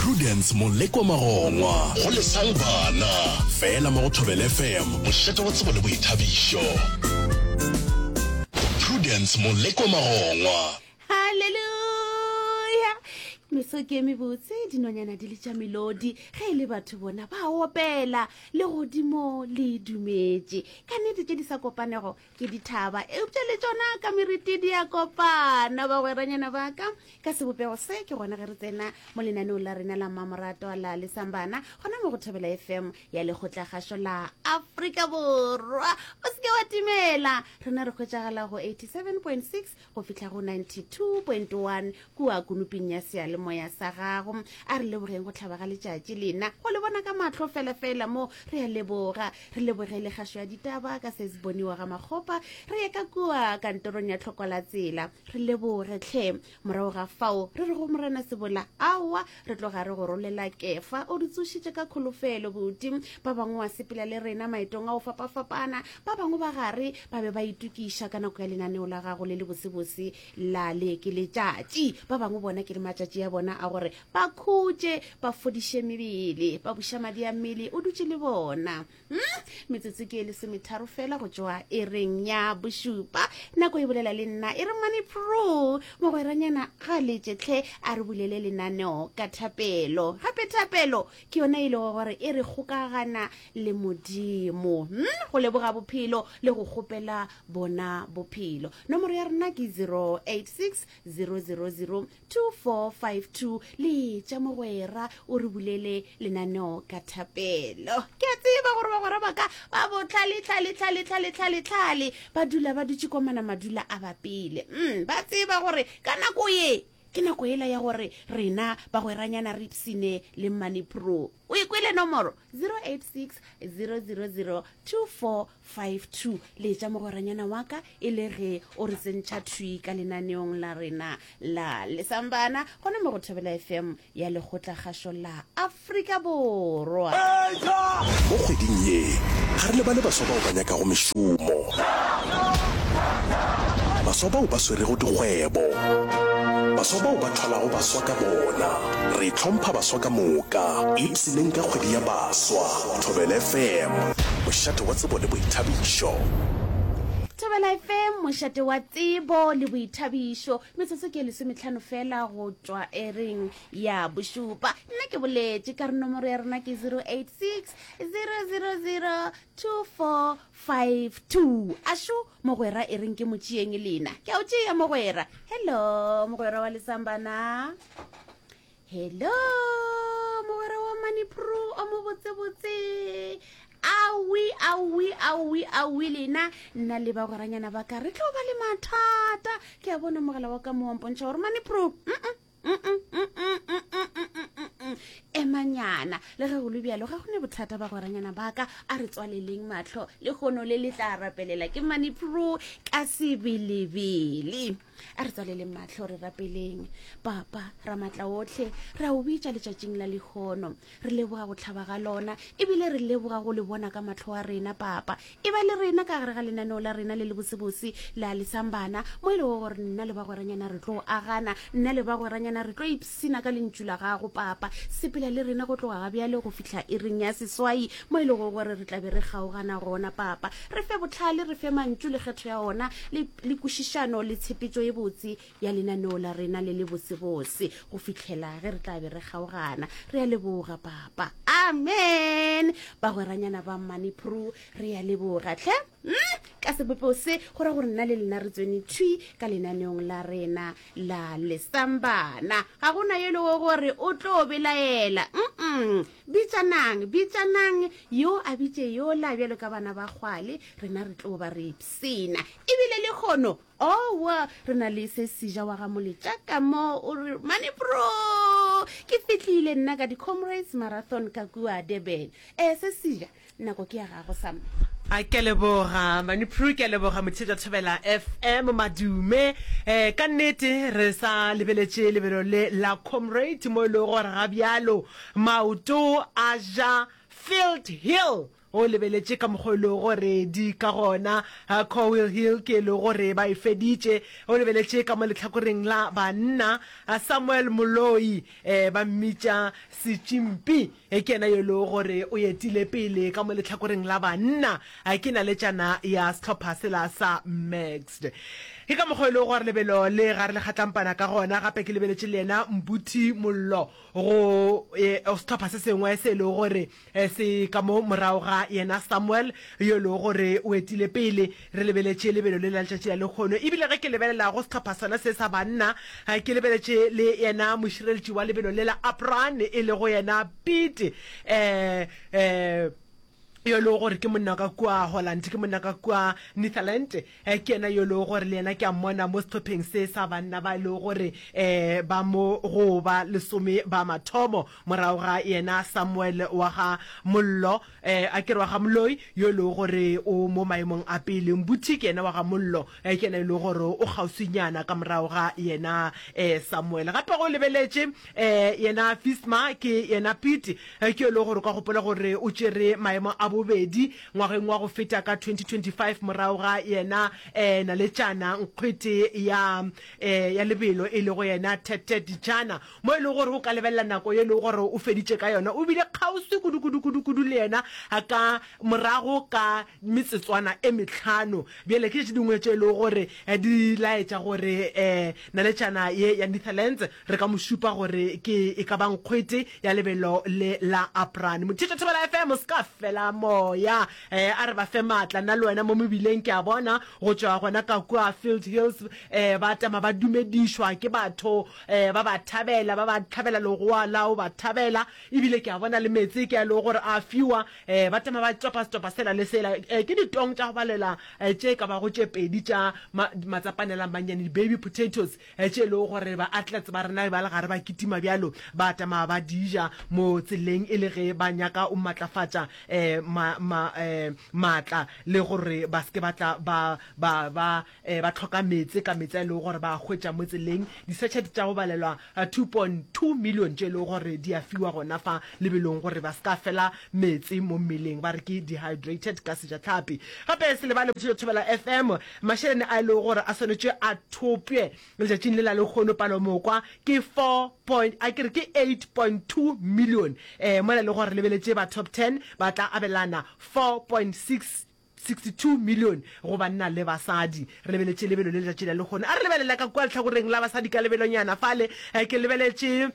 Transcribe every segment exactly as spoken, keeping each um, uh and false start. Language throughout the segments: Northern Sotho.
Prudence Molekwa Magongwa go Lesang Bana fela mo go Thobela F M, mošate wa tsebo le boithabišo. Prudence Molekwa Magongwa. Halleluja! Meso ke e mebotse, dinonyana di le tša melodi, ge e le batho bona ba opela, legodimo le dumetše. Ka nnete tše di sa kopanego ke dithaba, eupša le tšona ka meriti di a kopana. Bagweranyana ba ka, ka sebopego se ke gona ge re tsena mo lenaneong la rena la mmamoratwa la Lesambana, gona mo go Thobela F M ya Lekgotlakgašo la Afrika Borwa. O se ke wa timela, rena re hwetšagala go eighty-seven point six go fihla go ninety-two point one kua kunuping ya seyalemoya sa gago. A re lebogeng go tlhaba ga letšatši lena go le bona ka mahlo felafela mo. Re a leboga, re lebogele kgašo ya ditaba ka se se boniwa ga Makgopa. Re ye ka kua kantorong ya tlhoko la tsela, re leboge tlhe. Morago ga fao re re go Morena Sebola, aowa, re tloga re go rolela kefa, o re tsošitše ka kholofelo buti. Ba bangwe wa sepela le rena maetong a go fapafapana, ba bangwe ba gare ba be ba itokiša ka nako ya lenaneo la gago le le bosebose la le ke letšatši. Ba bangwe bona ke le matšatši a bona a gore ba khutše, ba fodiše mebele, ba buša madi a mmele, o dutše le bona. hmm? Metsotso ke e lesometharo fela go tšwa e reng ya bošupa. Nako e bolela le nna e re Money Pro mogweranyana ga letšetlhe, a re bulele lenaneo ka thapelo. Gape thapelo ke yona e lego gore e re kgokagana le Modimo, hmm? Go leboga bophelo le go kgopela bona bophelo. Nomoro ya rena ke zero eight six zero zero zero two four five two. Letša mogwera, o re bulele lenaneo ka thapelo. Ke a tseba gore bagwera ba ka ba botlhale tlhale tlhale tlhale tlhale tlhale, ba dula ba dutše komana, madula a bapile. mm, ba tseba gore ka nako ye ke nako ela ya gore rena bagweranyana re ipsine le Money Pro. O e kwele nomoro zero eight six zero zero zero two four five two. Letša mogweranyana wa ka e le ge o re tsentšha thwi ka lenaneong la rena la Lesambana, gona mo go Thobela F M ya Lekgotlakgašo la Afrika Borwa. Mo kgweding ye ga re lebale baswa bao ba nyakago mešomo, baswa bao ba swerego dikgwebo, baswa bao ba thwalago baswa ka bona. Re hlompha baswa ka moka. Ipshineng ka kgwedi ya baswa. Thobela F M, mošate wa tsebo le boithabišo. Thobela F M, mošate wa tsebo le boithabišo. Metsotso ke lesometlhano fela go tšwa ereng ya bošupa. Nna ke boletše ka re nomoro ya rena ke zero eight six zero zero zero two four five two. Ašo mogwera, e reng ke motšeeng lena. Ke a o tšea mogwera. Hello mogwera wa Lesambana, hello mogwera wa Manipro o mo botsebotse. Awi awi awi awi, lena nna le bagweranyana ba ka re tlo ba le mathata. Ke a bona mogala wa ka mo wampontšha gore Manipro emanyana. Le ge go le bjalo, ga go ne bothata bagweranyana ba ka, a re tswaleleng matlho le kgono le le tla rapelela ke Manipro ka sebelebele. A re tswaleleng matlho, re rapeleng. Papa Ramatla otlhe, re a o bitša letšatšing la lehono, re leboga go tlhaba ga lona, ebile re leboga go le bona ka matlho a rena. Papa, e ba le rena ka gare ga lenaneo la rena le le bosebose la Lesambana, mo e lego gore nna le bagweranyana re tlo agana, nna le bagweranyana re tlo ipsina ka lentšu la gago. Papa, sepela le rena go tloga ga bjale go fihla e reng ya seswai, mo e lego gore re tlabe re kgaogana gona. Papa, re fe botlhale, re fe mantšu le kgetho ya ona le, le kwešišano le tshepetšo e botse ya lenaneo la rena le le bosebose go fihlela ge re tla be re kgaogana. Re a leboga papa, amen. Bagweranyana ba Manipro, re a leboga tlhe. mm? Ka sebopeo se go ra gore nna le lena re tswene thwi ka lenaneong la rena la Lesambana. Ga gona ye lego gore o tlo belaela. mm bitsanang bitsanang, yo a bitše yola bjalo ka bana ba kgwale, rena re tlo ba re ipsina. Ebile le kgono owa re na le se seja wa ga Moletša ka mo o re Manipro ke fitlhile nna ka di-Comrades Marathon ka kua Durban. um se seja, nako ke ya gago sam. A ke leboga Manipro, ke a leboga motšhetša Thobela F M, madume. um ka nnete re sa lebeletše lebelo le la Comrade, mo e lego gore ga bjalo maoto a ja Field Hill. O lebeletše ka mokgwa e lego gore di ka gona. Coil Hill ke e lego gore ba e feditše. O lebeletše ka mo lehlakoreng la banna, Samuel Moloi, ba mmitša Setšimpi, ke yena yo e lego gore o etile pele ka mo lehlakoreng la banna. Ke naletšana ya sehlopha sela sa Maxed. Ke ka mokgwa e lego gore lebelo le ga re le kgatlampana ka gona. Gape ke lebeletše le yena Mbuthi Mollo go sehlopha se sengwe se e lego gore se ka mo morago ga yena Samuel yo e lego gore o etile pele. Re lebeletše lebelo le la letšatši la lehono. Ebile ge ke lebelela go sehlopha sona se sa banna, ke lebeletše le yena mošireletši wa lebelo le la Apran e lego yena Piet um um yo e lego gore ke monna ka kua Holland, ke monna ka kua Netherland, ke yena yo e lego gore le yena ke a mmona mo sehlopheng se sa banna ba e lego gore um ba mo go ba lesome ba mathomo, morago ga yena Samuel wa ga Mollo, um a ke re wa ga Moloi, yo e lego gore o mo maemong a pele. Mbuthi ke yena wa ga Mollo, ke yena e lego gore o kgauswinyana ka morago ga yena um Samuel. Gape go lebeletše um yena Fisma, ke yena Piet, ke yo e lego gore o ka gopola gore o tšere maemo a bobedi ngwageng wa go feta ka twenty twenty-five morago ga yena eh, naletšana nkgwete ya eh, ya lebelo e lego yena Tete Dijana, mo e lego gore o ka lebelela nako ye e lego gore o feditše ka yona, o bile kgauswi kudu kudu kudu kudu le yena ka morago ka metsetswana e mehlano. Bjale ke tše dingwe tše e lego gore di laetša gore eh, naletšana ye ya Netherlands re ka mo šupa gore ke e ka ba nkgwete ya lebelo le la Aprane. Mothetša Thobela F M, se ka fela moya. Eh, a re ba fe maatla, nna le wena mo mebileng ke a bona go tšwa gona ka kua Field Hills, eh, ba tama ba dumedišwa ke batho, eh, ba ba thabela, ba ba tlhabela legoa la o ba thabela, ebile ke a bona le meetse ke a lego gore a fiwa, eh, ba tama ba topa setopa sela le sela, eh, ke ditong tša go balela, eh, tše ka bago tše pedi tša ma-, matsapanela mannyane, di-baby potatoes, eh, tše e lego gore ba athletes ba rena ba le gare ba kitima bjalo, ba tama ba di ja mo tseleng e le ge ba nyaka o matlafatša, eh, ma, ma, eh, maatla, le gore ba se ke ba tla ba, ba, ba, eh, ba hloka meetse ka meetse a e lego gore ba a hwetša mo tseleng. Di-sachet tša go balelwa two point two million tše e lego gore di a fiwa gona fa lebelong gore ba se ka fela meetse mo mmeleng, ba re ke dehydrated ka sejatlhapi. Gape se lebale Bothito Thobela F M, mašeleni a e lego gore a swanetše a thopše letšatšing le la lehono palomokwa ke four point, a ke re ke eight point two million, eh, mola e le gore lebeletše ba top ten ba tla abelana four point six sixty-two million go banna le basadi. Re lebeletše lebelo le letšatši la lehono. A re lebelela ka kua lehlakoreng la basadi ka lebelonyana fale, eh, ke lebeletše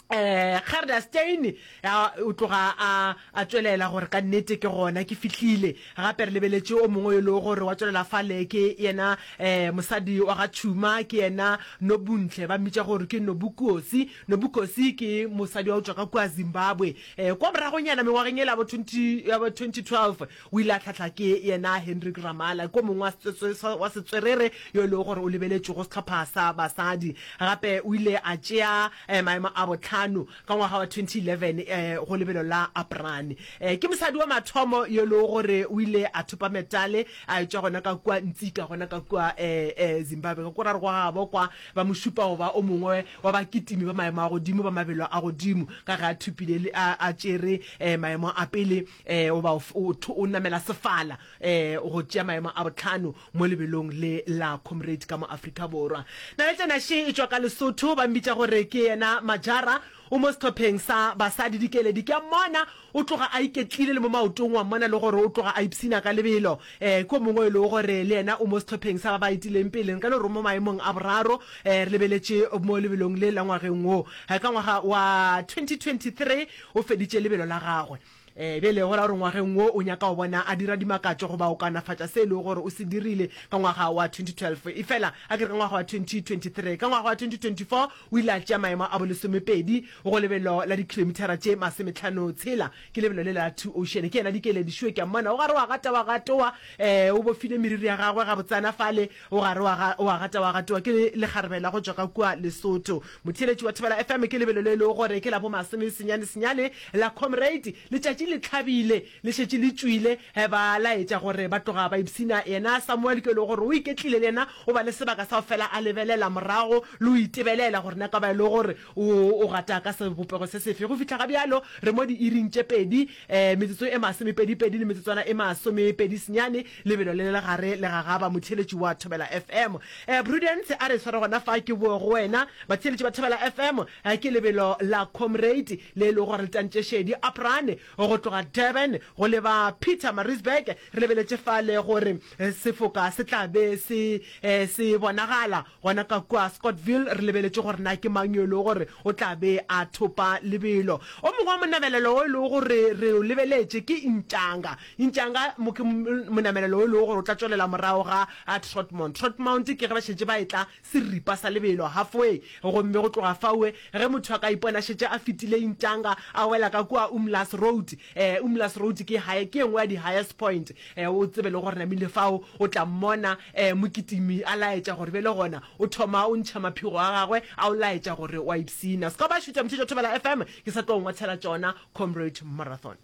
eh, Gerda Steyn, ya, o tloga a, a tšwelela gore ka nnete ke gona ke fihlile. Gape re lebeletše o mongwe yo e lego gore wa tšwelela fale ke yena, eh, mosadi wa ga Tšhuma, ke yena Nobuntle, ba mmitša gore ke Nobukosi. Nobukosi ke mosadi wa go tšwa ka kua Zimbabwe. Eh, kwa moragonyana mengwageng yela ya bo twenty, ya bo twenty twelve, o ile a hlahla ke yena Hendrik Ramala, ke o mongwe wa setswe-, wa setswerere yo e lego gore o lebeletšwe go sehlopha sa basadi. Gape o ile a tšea, eh, maemo a bohlano ka ngwaga wa twenty eleven, eh, go lebelo la Aprane. Eh, ke mosadi wa mathomo yo e lego gore o ile a thopa metale a etšwa gona ka kua Ntsika, gona ka kua, eh, eh, Zimbabwe. Ka kua ra re gwa gabo kwa ba mo šupa go ba o mongwe wa bakitimi ba maemo a godimo ba mabelo a godimo, ka ge a thopile le, a, a tšere, eh, maemo a pele, eh, goba o, o, o namela sefala, eh, go tšea maemo a bohlano mo lebelong le la Comrade ka mo Afrika Borwa. Naletšana še e tšwa ka Lesotho, ba mmitša gore ke yena Majara, o mo sehlopheng sa basadi dikeledi. Ke a mmona o tloga a iketlile le mo maotong, wa mmona le gore o tloga a ipshina ka lebelo. Eh, ke o mongwe e lego gore le yena o mo sehlopheng sa ba ba etileng pele, nka no re mo maemong a boraro. Eh, re lebeletše mo lebelong le la ngwageng wo. Eh, ka ngwaga wa twenty twenty-three o feditše lebelo la gagwe. Eh, bjale go ra gore ngwageng wo o nyaka go bona a dira dimakatšo goba o kaonafatša se e lego gore o se dirile ka ngwaga wa twenty twelve. Efela a ke re ka ngwaga wa twenty twenty-three, ka ngwaga wa twenty twenty-four o ile a tšea maemo a bolesomepedi go lebelo la dikhilomithara tše masometlhano tshela, ke lebelo le la Two Ocean. Ke yena Dikeledi Šue, ke a mmona o gare wa gata wa gatoa, eh, o bofile meriri ya gagwe gabotsana fale, o gare wa ga, wa gata wa gatoa, ke lekgarebe la go tšwa ka kua Lesotho. Motheeletši wa Thobela F M, ke lebelo le e lego gore ke la bo masome senyane senyane la Comrade. Letšatši le tlhabile le šetše le tšwile, ba laetša gore ba tloga ba ipshina. Yena Samuel ke e lego gore o iketlile le yena o ba le sebaka sa go fela a lebelela morago le go itebelela gore na ka ba e le gore o o gata ka sebopego se sefe. Go fihla ga bjalo re mo diiring tše pedi, metsotso e masomepedipedi le metsotswana e masomepedi senyane, lebelo le le gare le gagaba motheeletši wa Thobela F M. Prudence a re sware gona fa ke boe go wena. Batheeletši ba Thobela F M, ke lebelo la Comrade le e lego gore le tantše šedi Aprane go tloga Durban go leba Pietermaritzburg. Re lebeletše fale gore sefoka se tla be se se bonagala gona ka kua Scottville. Re lebeletše gore na ke mang yo e lego gore o tla be a thopa lebelo. O mongwe wa monamelelo o e lego gore re o lebeletše ke Intšanga. Intšanga mo ke monamelelo o e lego gore o tla tšwelela morago ga Trotmount. Trotmount ke ge ba šetše ba etla seripa sa lebelo, halfway. Gomme go tloga faue, ge motho a ka ipona šetše a fetile Intšanga, a wela ka kua Umlaas Road. Eh, Umlaas Road ke high, ke e nngwe ya di-highest point. Eh, o tsebe le gore namile fao o tla mmona eh, mokitimi a laetša gore bjale gona o thoma o ntšha maphego a gagwe a o laetša gore o a ipshina. Se ka ba šutša motheetši wa Thobela F M, ke sa tlo ngwathela tšona Comrade Marathon.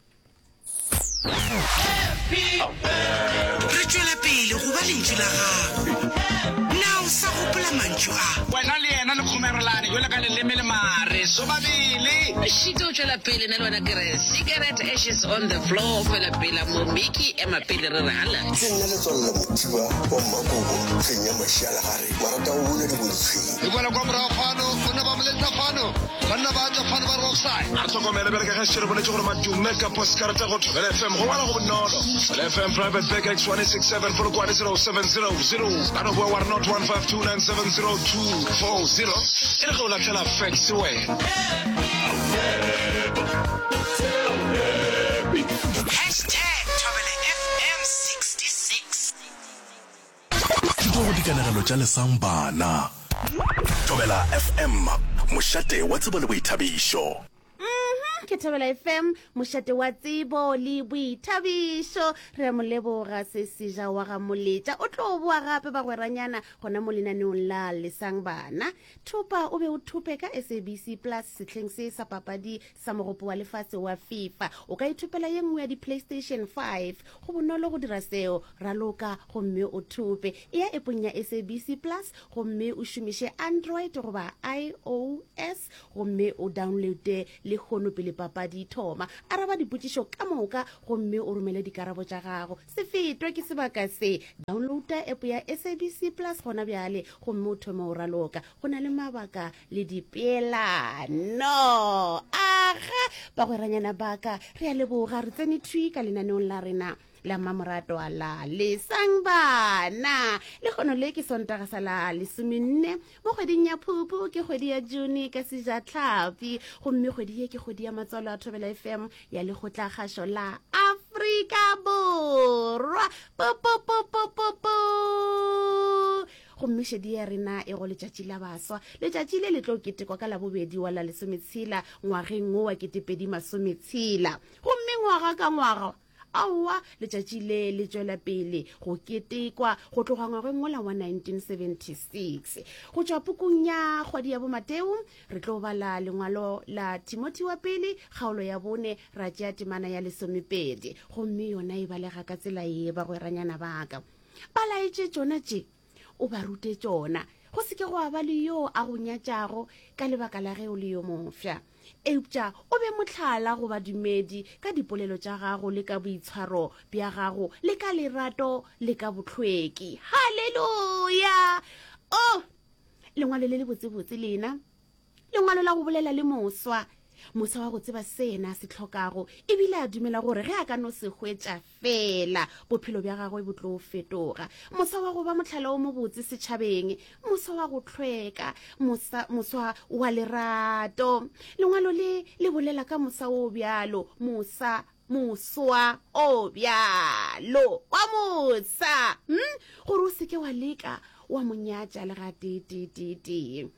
Re tšwela pele go ba lentšu la gago. Na o sa gopola mantšu a? Wena le yena le kgomerelane jwalo ka leleme le mare sobabele. Šito o tšwela pele, nna le wena ke re cigarette ashes on the floor, fela pela mo Mickey ema pele re re hala. Ke nna Letswalo la Mothiba wa Mmakobo, hleng ya Mašialagare, marata go buna diboditshweng. E kwala kwa morago fano, banna ba moletsa fano, banna ba tšwa fano ba re offside. A re hlokomele bjale ka ge šetše re boletše gore madume ka postkarata go Thobela F M go ngwala go bonolo. Thobela F M Private Bank X one six seven Polokwane zero seven zero zero. Ka no boa wa re not one five two nine seven zero two four zero. E re ge o lahlela fax wena. Hashtag Thobela F M sixty-six. Thuto go dikanegelo tša Lesang Bana. Thobela F M, mošate wa tsebo le boithabišo. Mhm, ke Thobela F M, mošate wa tsebo le boithabišo. Re a mo leboga se seja wa ga Moletša. O tlo boa gape bagweranyana gona mo lenaneong la Lesang Bana. Thopa o be o thope ka S A B C Plus sehleng se sa papadi sa mogopo wa lefase wa FIFA. O ka ithopela ye nngwe ya di-PlayStation five. Go bonolo go dira seo, raloka gomme o thope. E ya epong ya S A B C Plus gomme o šomiše Android goba I O S gomme o downloade le kgono pele papadi thoma. Araba dipotšišo ka moka gomme o romele dikarabo tša gago. Se fetwe ke sebaka se. Downloada app ya S A B C Plus gona bjale gomme o thome o raloka. Go na le mabaka le dipeelano. Aga, bagweranyana baka, re a leboga, re tsene thwi ka lenaneong la rena la mmamoratwa la Lesang Bana. Lekgono le ke Sontaga sa la lesomenne mo kgweding ya Phupu, ke kgwedi ya June ka sejatlhapi, gomme kgwedi ye ke kgwedi ya matswalo a Thobela F M ya lekgotlakgašo la Afrika Borwa. Po, po, po, po, po, po. Gomme šedi ya rena e go letšatši la baswa. Letšatši le le tlo ketekwa ka labobedi wa la lesometshela ngwageng wo wa ketepedi masometshela. Gomme ngwaga ka ngwaga, aowa, letšatši le le tšwela pele go ketekwa go tloga ngwageng wola wa nineteen seventy-six. Go tšwa pukung ya kgwedi ya boMateo, re tlo bala lengwalo la Timothy wa pele, kgaolo ya bone, ra tšea temana ya lesomepedi. Gomme yona e balega ka tsela ye, bagweranyana baka. Ba laetše tšona tše, o ba rute tšona. Go se ke gwa ba le yo a go nyatšago ka lebaka la ge o le yo mofsa. Eupša o be mohlala go badumedi ka dipolelo tša gago le ka boitshwaro bja gago le ka lerato le ka bohlweki. Haleluya! Oh, lengwalo le le botsebotse lena. Lengwalo la go bolela le moswa. Moswa wa go tseba se yena a se hlokago, ebile a dumela gore ge a ka no se hwetša fela, bophelo bja gagwe bo tlo fetoga. Moswa wa go ba mohlala o mobotse setšhabeng, moswa wa go hlweka, mosa, moswa wa lerato. Lengwalo le le bolela ka mosa o bjalo, mosa, moswa o bjalo, wa mosa, hm? Gore o seke wa leka wa mo nyatša le ga tee, tee, tee, tee.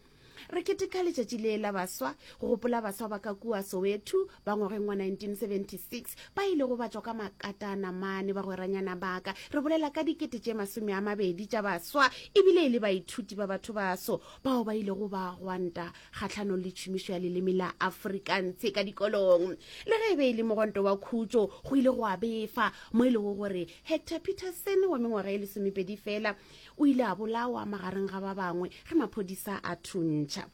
Re keteka letšatši le la baswa go gopola baswa ba ka kua Soweto ba ngwageng wa nineteen seventy six ba ilego ba tšwa ka makatana mane bagweranyana ba ka. Re bolela ka dikete tše masome a mabedi tša baswa ebile e le baithuti ba batho baso bao ba ilego ba gwanta kgahlanong le tšhomišo ya leleme la Afrikaans ka dikolong. Le ge e be e le mogwanto wa khutšo, go ile gwa befa mo e lego gore Hector Pieterson wa mengwaga e lesomepedi feela o ile a bolawa magareng ga ba bangwe ge maphodisa a thuntšha.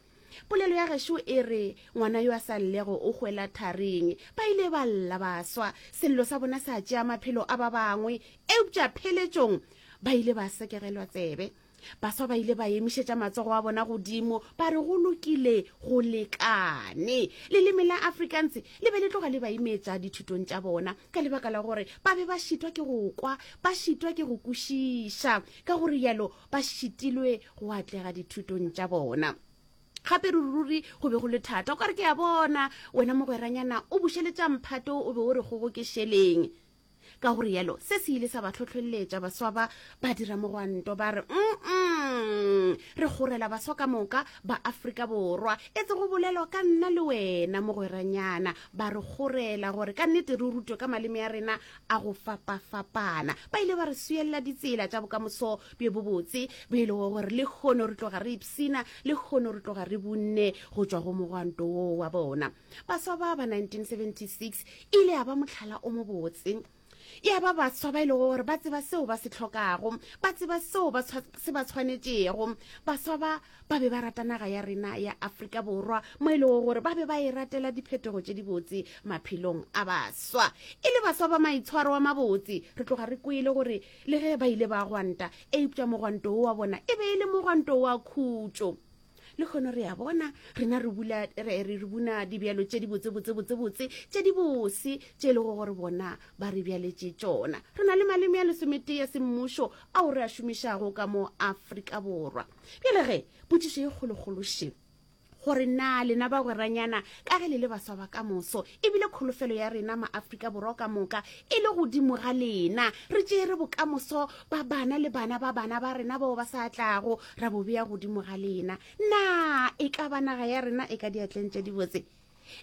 Polelo ya gešo e re ngwana yo a sa llego o hwela tharing. Ba ile ba lla baswa, sello sa bona sa tšea maphelo a ba bangwe, eupša pheletšong ba ile ba sekegelwa tsebe. Baswa ba ile ba emišetša matsogo a bona godimo ba re go lokile go lekane. Leleme la Afrikaans le be le tloga le ba imetša dithutong tša bona ka lebaka la gore ba be ba šitwa ke go kwa, ba šitwa ke go kwešiša, ka go rialo ba šitilwe go atlega dithutong tša bona. Gape ruri-ruri go be go le thata. O ka re ke a bona wena mogweranyana o bušeletša mphato o be o re kgogo ke šeleng. Ka go rialo, se se ile sa ba hlohleletša baswa ba ba dira mogwanto ba re, Mm-mm, re kgorela baswa ka moka ba Afrika Borwa, etse go bolelwa ka nna le wena mogweranyana, ba re kgorela gore ka nnete re rutwe ka maleme a rena a go fapafapana. Ba ile ba re swielela ditsela tša bokamoso bjo bobotse bjo e lego gore lehono re tloga re ipshina, lehono re tloga re bunne go tšwa go mogwanto woo wa bona. Baswa ba ba nineteen seventy six e ile ya ba mohlala o mobotse. Ya ba baswa ba e lego gore ba tseba seo ba se hlokago, ba tseba seo ba se ba tshwanetšego. Baswa ba ba be ba rata naga ya rena ya Afrika Borwa mo e lego gore ba be ba e ratela diphetogo tše dibotse maphelong a baswa. E le baswa ba maitshwaro a mabotse, re tloga re kwele gore le ge ba ile ba gwanta, eupša mogwanto wo wa bona e be e le mogwanto wa khutšo. Lehono re a bona, rena re bula, re, re, re buna dibjalo tše di botse, botse, botse, botse, tše di bose, tše e lego gore bona ba re bjaletše tšona. Re na le maleme a lesometee a semmušo ao re a šomišago ka mo Afrika Borwa. Bjale ge, potšišo ye kgolokgolo še, gore na lena bagweranyana, ka ge le le baswa ba ka moso, ebile kholofelo ya rena ma-Afrika Borwa ka moka e le godimo ga lena, re tšeere bokamoso ba bana le bana ba bana ba rena bao ba sa tlago, ra bo bea godimo ga lena, na e ka ba naga ya rena e ka diatleng tše dibotse?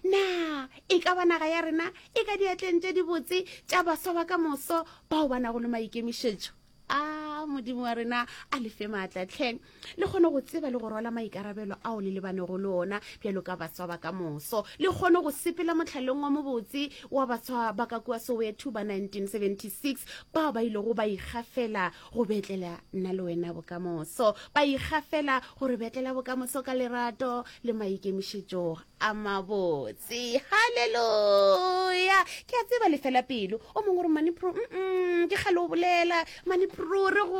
Na e ka ba naga ya rena e ka diatleng tše dibotse tša baswa ba ka moso bao ba nago le maikemišetšo? A Modimo wa rena a le fe maatla tlhe, le kgone go tseba le go rwala maikarabelo ao le lebanego le ona bjalo ka baswa ba ka moso, le kgone go sepela mohlaleng wa mobotse wa baswa ba ka kua Soweto ba nineteen seventy six bao ba ilego ba ikgafela go betlela nna le wena bokamoso, ba ikgafela go re betlela bokamoso ka lerato le maikemišetšo a mabotse. Haleluya! Ke a tseba le fela pelo. O mongwe o re, Mani Pro, mm-mm, ke kgale o bolela. Mani Pro, re go